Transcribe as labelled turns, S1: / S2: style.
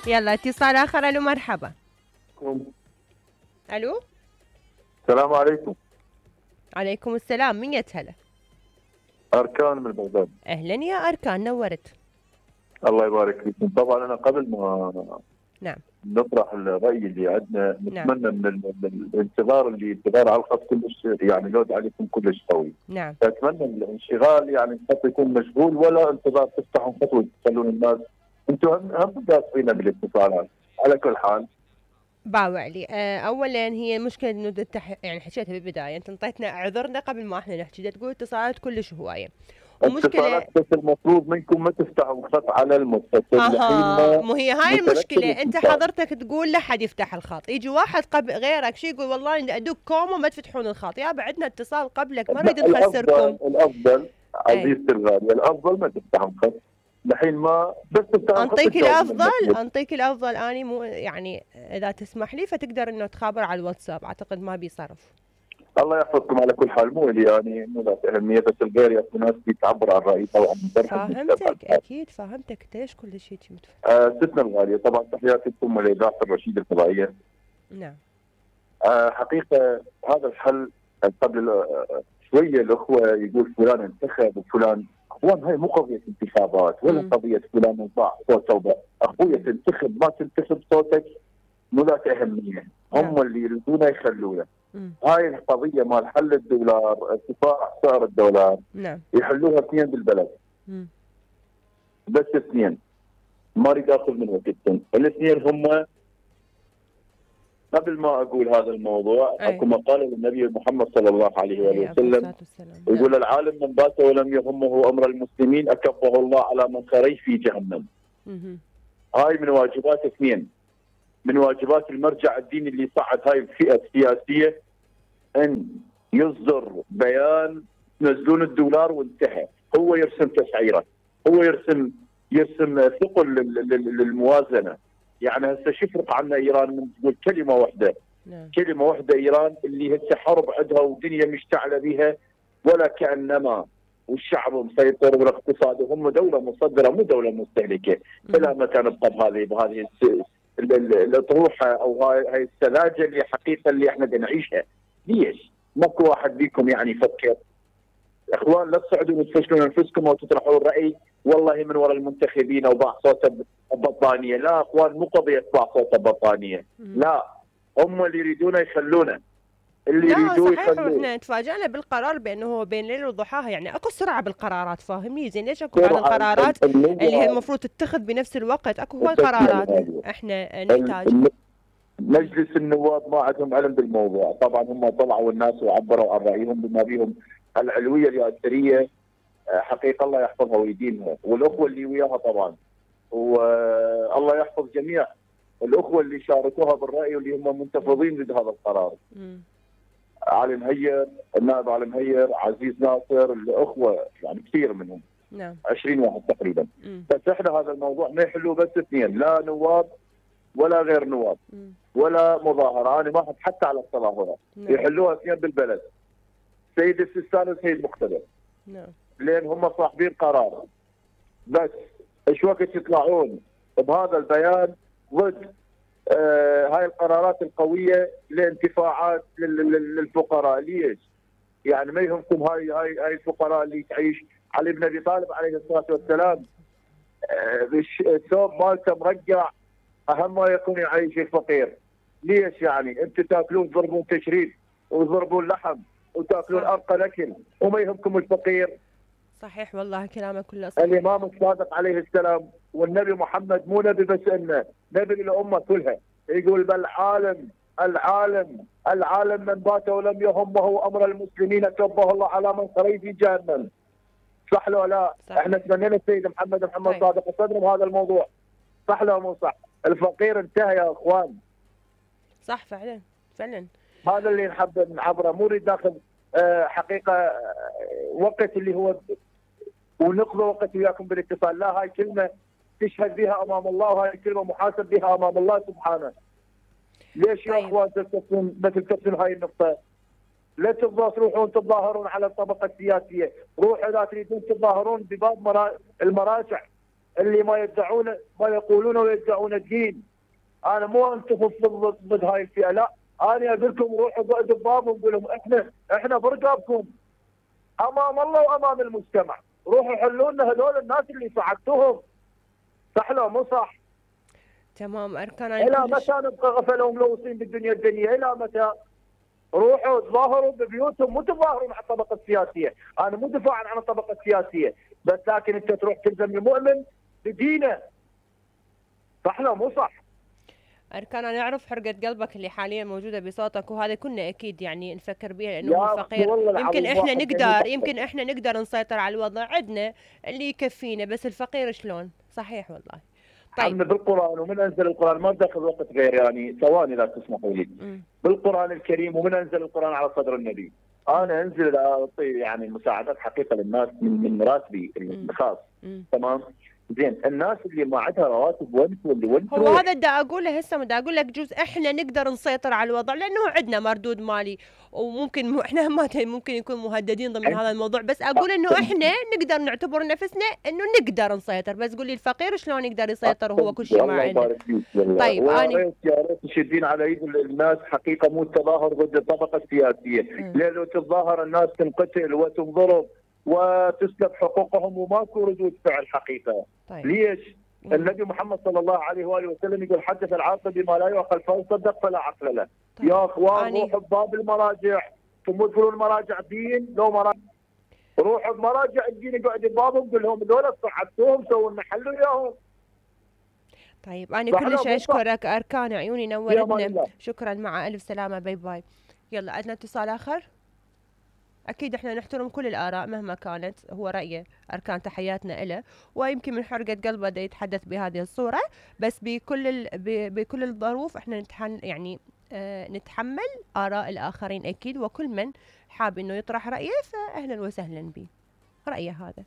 S1: يلا اتصال آخر. ألو مرحبا. ألو
S2: السلام عليكم.
S1: عليكم السلام. مين يتهلا؟
S2: أركان من بغداد.
S1: أهلا يا أركان، نورت.
S2: الله يبارك فيكم. طبعا أنا قبل ما
S1: نعم
S2: نطرح الرأي اللي عندنا
S1: نعم.
S2: نتمنى من الانتظار اللي انتظار على الخط كلش يعني لود عليكم كلش قوي.
S1: نعم.
S2: فأتمنى الانشغال يعني الخط يكون مشغول ولا انتظار تفتحوا خط وتخلون الناس. انتم هم قاصرين بالاتصالات. على كل حال
S1: باوعلي اولا هي مشكله انه يعني حكيتها بالبدايه، انت انطيتنا اعذرنا قبل ما احنا نحكي، تقول اتصالات كلش هوايه ومشكله.
S2: اتصالات بس المفروض منكم ما تفتحوا الخط على المتصل الحين.
S1: مو هي هاي المشكله، انت حضرتك تقول لا حد يفتح الخط، يجي واحد قبل غيرك شي يقول والله ادق كوم وما تفتحون الخط، يا بعدنا اتصال قبلك ما نريد نخسركم.
S2: الافضل عزيزتي الغاليه الافضل ما تفتحوا الخط الحين، ما بس
S1: انطيك الافضل اني مو يعني اذا تسمح لي فتقدر انه تخابر على الواتساب، اعتقد ما بيصرف.
S2: الله يحفظكم على كل حال. مو لي يعني مو ذات اهميه، بس الغير يا ناس تعبر عن رايي طبعا.
S1: فهمتك اكيد فهمتك. انت ليش كل شيء
S2: ستنا الغاليه طبعا تحياتي لكم ولاذاعه الرشيد الفضائيه.
S1: نعم.
S2: حقيقه هذا الحل قبل شويه الاخوه يقول فلان انتخب وفلان، اخوان هاي مو قضيه انتخابات ولا قضيه فلان انطاع صوته. اخويا تنتخب ما تنتخب صوتك مو ذات اهميه، هم اللي يريدونه يخلونه. هاي القضيه مال حل الدولار، ارتفاع سعر الدولار،
S1: نعم
S2: يحلوها اثنين بالبلد. بس اثنين، ما اريد اخذ من وقتكم. الاثنين هم قبل ما اقول هذا الموضوع اكو مقاله للنبي محمد صلى الله عليه واله وسلم يقول العالم من بات ولم يهمه امر المسلمين اكبه الله على منخريه في جهنم. هاي من واجبات اثنين، من واجبات المرجع الديني اللي صعد هاي الفئه السياسيه ان يصدر بيان تنزلون الدولار وانتهى. هو يرسم تسعيره، هو يرسم ثقل للموازنه. يعني هسه شو يفرق عنا ايران من تقول كلمه واحده؟ كلمه واحده ايران اللي هسه حرب عندها ودنيا مشتعله بها ولا كانما، والشعب مسيطر والاقتصاد، وهم دوله مصدره مو دوله مستهلكه. الى متى نبقى بهذه الاطروحه او هاي السذاجه اللي حقيقه اللي احنا نعيشها؟ ليش؟ ماكو واحد بيكم يعني يفكر؟ اخوان لا تصعدوا وتفشلون انفسكم وتطرحوا الراي والله من وراء المنتخبين او باع صوت بطانيه. لا اخوان، مو قضيه باع صوت بطانيه، لا، هم اللي يريدونه يخلونه، اللي يريدوه يخلوه.
S1: احنا تفاجئنا بالقرار بانه هو بين ليل وضحاها، يعني اكو سرعه بالقرارات، فاهمني؟ زين ليش اكو بعض القرارات اللي هي المفروض تتخذ بنفس الوقت؟ اكو هواي قرارات احنا نحتاجها.
S2: مجلس النواب ما عندهم علم بالموضوع، طبعا هم طلعوا الناس وعبروا عن رايهم بما بيهم العلويه الياسريه، حقيقه الله يحفظها ويدينها، والاخوه اللي وياها طبعا، والله يحفظ جميع الاخوه اللي شاركوها بالراي واللي هم منتفضين ضد هذا القرار. علي مهير، النائب علي مهير، عزيز ناصر، الاخوه يعني كثير منهم،
S1: نعم
S2: 20 واحد تقريبا. بس احنا هذا الموضوع ما يحلوه بس اثنين، لا نواب ولا غير نواب ولا مظاهره، انا ما احب حتى على التظاهرات، يحلوها اثنين بالبلد، سيد السيستاني وسيد مقتدر. لين هم صاحبين قرار. بس ايش وقت يطلعون بهذا البيان ضد هاي القرارات القويه لانتفاعات للفقراء؟ ليش؟ يعني ما يهمكم هاي الفقراء اللي تعيش؟ علي بن ابي طالب عليه الصلاه والسلام الثوب مالته مرقع اهم ما يكون يعيش الفقير. ليش يعني؟ انتم تاكلون تضربون تشريد وتضربون لحم وتاكلون ارقى الاكل وما يهمكم الفقير؟
S1: صحيح والله كلامك كله صحيح.
S2: الامام الصادق عليه السلام والنبي محمد مو نبي بس انه نبي للامه كلها، يقول بل العالم من بات ولم يهمه امر المسلمين كبه الله على منخريه في جهنم. صح لو لا؟ صح. احنا تمنينا السيد محمد صادق يصدر بهذا الموضوع. صح لو مو صح؟ الفقير انتهى يا اخوان.
S1: صح فعلا فعلا.
S2: هذا اللي نحب نعبره، مو نريد ناخذ حقيقه وقت اللي هو ونقضي وقت وياكم بالاتصال، لا، هاي كلمه تشهد بها امام الله وهاي كلمه محاسب بها امام الله سبحانه. ليش يا اخوان تلتفتون هاي النقطه؟ لا تروحون تتظاهرون على الطبقه السياسيه، روحوا اذا تريدون تتظاهرون بباب المراجع اللي ما يدعون ما يقولون ويدعون الدين. انا مو انتم ضد هاي الفئه، لا، انا اقول لكم روحوا بعدوا ببابهم وقول لهم احنا برقابكم امام الله وامام المجتمع، روحوا حلوا لنا هذول الناس اللي صعدتوهم. صح لو مو صح؟
S1: تمام. اركان
S2: الى متى نبقى غفله وملوثين بالدنيا الدنيا؟ الى متى؟ روحوا تظاهروا ببيوتهم، مو تظاهروا مع الطبقه السياسيه، انا مو دفاعا عن الطبقه السياسيه، بس لكن انت تروح تلزم المؤمن بدينه. صح لو مو صح؟
S1: أركان نعرف حرقة قلبك اللي حاليا موجودة بصوتك، وهذا كنا أكيد يعني نفكر بها لأنه هو فقير. يمكن إحنا نقدر نسيطر على الوضع، عندنا اللي يكفينا، بس الفقير شلون؟ صحيح والله.
S2: طيب بالقرآن، ومن أنزل القرآن، ما تاخذ وقت غير يعني ثواني لا تسمحوا لي. بالقرآن الكريم، ومن أنزل القرآن على صدر النبي. أنا أنزل أعطي يعني مساعدات حقيقة للناس من راتبي الخاص. تمام؟ زين، الناس اللي ما عندها رواتب وين
S1: هو هذا بدي اقوله هسه، بدي اقول لك جزء احنا نقدر نسيطر على الوضع لانه عندنا مردود مالي، وممكن احنا ممكن يكون مهددين ضمن هذا الموضوع، بس اقول انه احنا نقدر نعتبر نفسنا انه نقدر نسيطر، بس قولي الفقير شلون يقدر يسيطر وهو كل شيء ما عنده.
S2: طيب يا ريت تشدين على ايد الناس حقيقه، مو التظاهر ضد الطبقه السياسيه، لانه تتظاهر الناس تنقتل وتنضرب وتسلب حقوقهم وماكو ردود فعل حقيقه. طيب. ليش؟ النبي محمد صلى الله عليه واله وسلم يقول حدث العاقل بما لا يعقل فيصدق فلا عقل له. طيب. يا اخوان روحوا بباب المراجع، ثم تقولون المراجع دين، لو مراجع روحوا بمراجع الدين اقعدوا ببابهم قول لهم هذول صعدتوهم سووا لنا حلوا اياهم.
S1: طيب انا كلش اشكرك اركان، عيوني نورتنا، شكرا، مع الف سلامه، باي باي. يلا عندنا اتصال اخر. أكيد إحنا نحترم كل الآراء مهما كانت، هو رأيه أركان، تحياتنا إله، ويمكن من حرقة قلبه دا يتحدث بهذه الصورة، بس بكل الظروف إحنا يعني نتحمل آراء الآخرين أكيد، وكل من حاب إنه يطرح رأيه فأهلا وسهلا به رأيه هذا.